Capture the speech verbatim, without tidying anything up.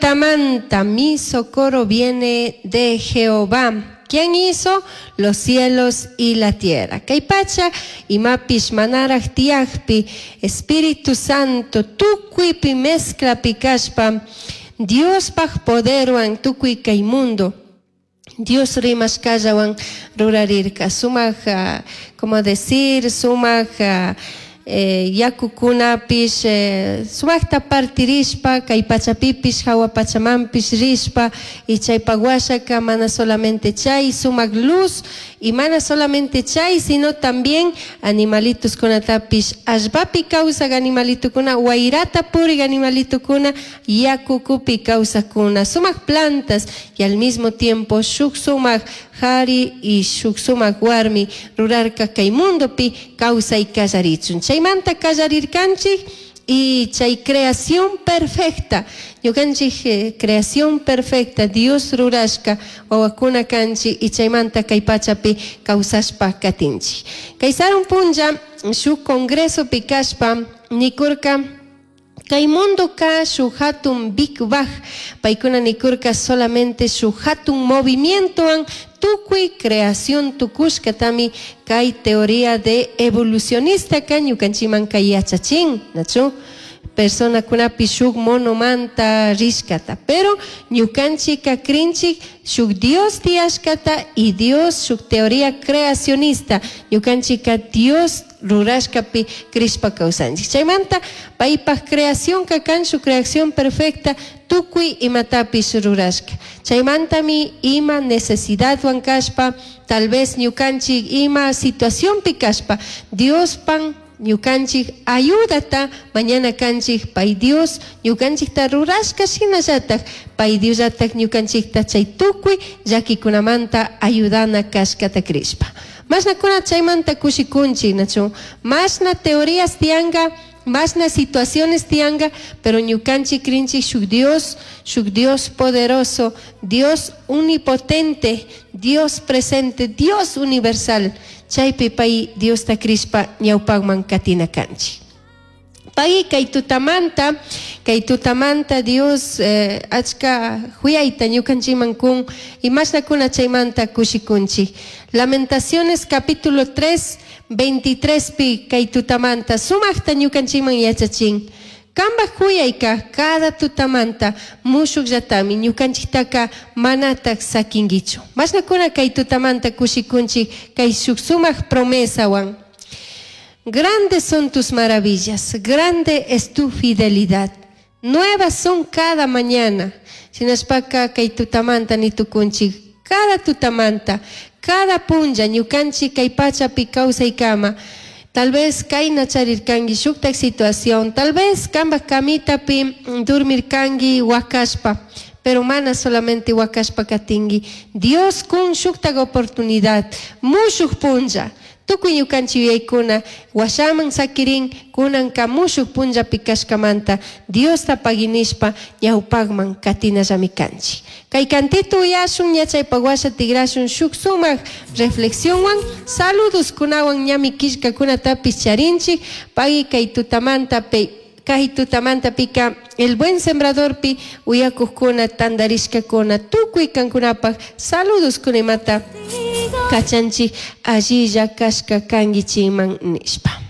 Tutamanta, mi socorro viene de Jehová, quien hizo los cielos y la tierra. Kay pacha imapish manaraj tiyajpi Espíritu Santo tukuypi mezclapi kashpa Diospaj poderwan tukuy kay mundo Dios rimashkallawan rurarirka sumak uh, como decir sumak uh, eh, yakukunapish eh, sumakta partirishpa kay pachapipish hawa pachamanpish rishpa y chaypak washaka mana solamente chay sumak luz y mana solamente chay sino también animalitos kunatapish allpapi kawsak animalitokuna wayrata purik animalitokuna yakukupi kawsakuna sumak plantas y al mismo tiempo shuk sumak jari y shuk sumak warmi rurarka kay mundopi kawsay kallarichun chaymanta kallarirkanchik y chay creación perfecta ñukanchik eh, creación perfecta Dios rurashka wawakuna kanchik y chaymanta kay pachapi kawsashpa katinchik kay sarun punlla shuk congresopi kashpa nikurka kay mundoka shuk hatun Big Bang paykuna nikurka solamente shuk hatun movimientowan tukuy creación tukushkatami kay teoría de evolucionista ka ñukanchikman kay yachachin nachu personakunapi shuk monomanta rishkata pero ñukanchika krinchik shuk Dios tiyashkata y Dios shuk teoría creacionista ñukanchika Dios rurashkapi krishpa kawsanchik chaymanta paypaj creación kan shuk creación perfecta tukuy imatapish rurashka chaymantami ima necesidadwan kashpa tal vez ñukanchik ima situacionpi kashpa Diospan ñukanchik ayudata mañana kanchik pay Dios ñukanchikta rurashka shinallatak pay Diosllatak ñukanchikta chay tukuy llakikunamanta ayudana kashkata krishpa mashnakuna chaymanta kushikunchik nachu mashna teorías tiyanka mashna situaciones tiyanka pero ñukanchik krinchik shuk Dios shuk Dios poderoso Dios omnipotente Dios presente Dios universal chaypi pay Diosta krishpa ñawpakman katina kanchik pay kay tutamanta kay tutamanta Dios eh, achka huyayta ñukanchikman kun y mashnakuna chaymanta kushikunchik Lamentaciones capítulo tres veintitrés pi kay tutamanta sumakta ñukanchikman yachachin Kambaj huyayka cada tutamanta mushukllatami ñukanchiktaka manatak sakinkichu mashnakuna kay tutamanta kushikunchik kay shuk sumak promesawan Grandes son tus maravillas, grande es tu fidelidad. Nuevas son cada mañana. Shinashpaka kay tutamanta ni tukunchik cada tutamanta, cada punlla ñukanchik kay pachapi kawsaykama. Tal vez kayna charirkanki shuktak situación, tal vez kambaj camitapi dormirkanki wakashpa, pero mana solamente wakashpa katinki. Dios kun shuktak oportunidad, mushuk punlla. Tukuy ñukanchik yuyaykuna washaman sakirin kunanka mushuk punllapi kashkamanta Diosta paginishpa ñawpakman katinallami kanchik. Kay kantito uyashun ñachaypak washa tigrashun shuk sumak reflexionwan saludos kunawan ñami killkakunatapish charinchik pagui kay tutamanta pe kay tutamanta pika el buen sembradorpi uyakuqkuna tantarishkakuna tukuy kankunapaj saludos kunimata kachanchik allilla kashka kankichikman nishpa.